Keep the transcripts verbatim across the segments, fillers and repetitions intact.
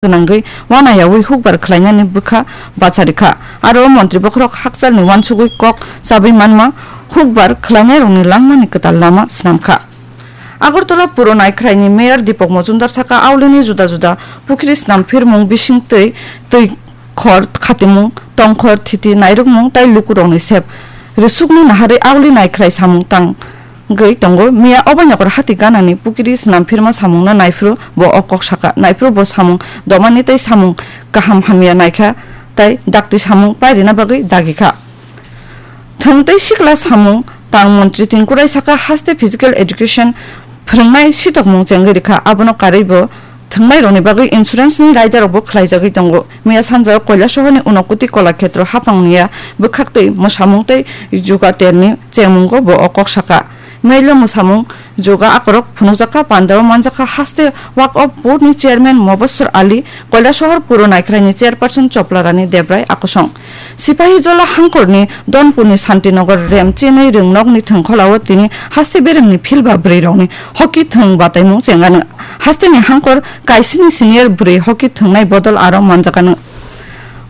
gwnangwi wanayawi hukbar khlainani bwkha bacharikha. Aro montri bokhorok hakchalni uansugwi kok chabwi manma hukbar khlainairokni langmani kwtal lama snamkha. Agartala Puro Naikhraini Mayor Deepak Majumdar saka, aulini juda juda pukhri snam phirmung bising twi, twi khor khatimung, tongkhor thiti nairukmung tai lukurokni sep rwsukno naharwi auli Naikhrai samung tang gwi tongo. Miya Obanyakor hati ganani pukiri snam phirma samungno naiphuru bo o kok saka. Naiphuru bo samung domani tei samung kaham hamya naikha tei dakti samung pairina bagwi dagikha. Thwng tei sikla samung tang montri Tengkurai saka, haste physical education phwrwngnai sitokmung chengwi rikha, abono karwi bo thwngnairokni bagwi insurance ni raidarokbo khlaijagwi tongo. Miya sanjao Koilasohorni Unakoti Kolakhetro haphangni ya bwkhaktwi mwsamung tei juga terni chengmungo bo o kok saka. Mailo mwsamung juga akorok phunukjakha, pandao manjakha, haste Waqf Board ni chairman Mobassor Ali, Koilasohor Puro Naikhraini chairperson Choplarani Debrai akosong. Sipahijola hangkorni Donpurni Santinagar rem chinwi rwngnokni thwngkholao tini haste beremni philba bwrwirokni hockey thwng bataimung chengano. Hasteni hangkor kaisini senior bwrwi hockey thwngnai bodol aro manjakano.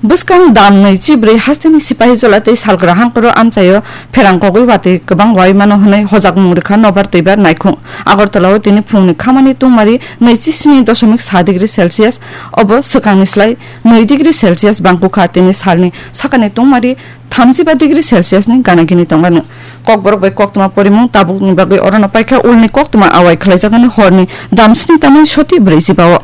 Bwskang dam nwi chibrwi hasteni Sipahijola tei salgra hangkoro amchaio pherang kogwi watwi kwbang wai mano hwnwi hojakmung rwkha nobar twibar naikhung. Agartalao tini phungni khamani tungmari nwi chi sni doshomik sa degree Celsius, obo swkangni slai nwi degree Celsius bangkukha, tini salni sakani tungmari thamjiba degree Celsius ni gana gini tongmani. Kokborok bai koktwma porimung tabukni bagwi orono paikha, ulni koktwma awai khlaijagani horni damsni tamwi soti brwijiba o.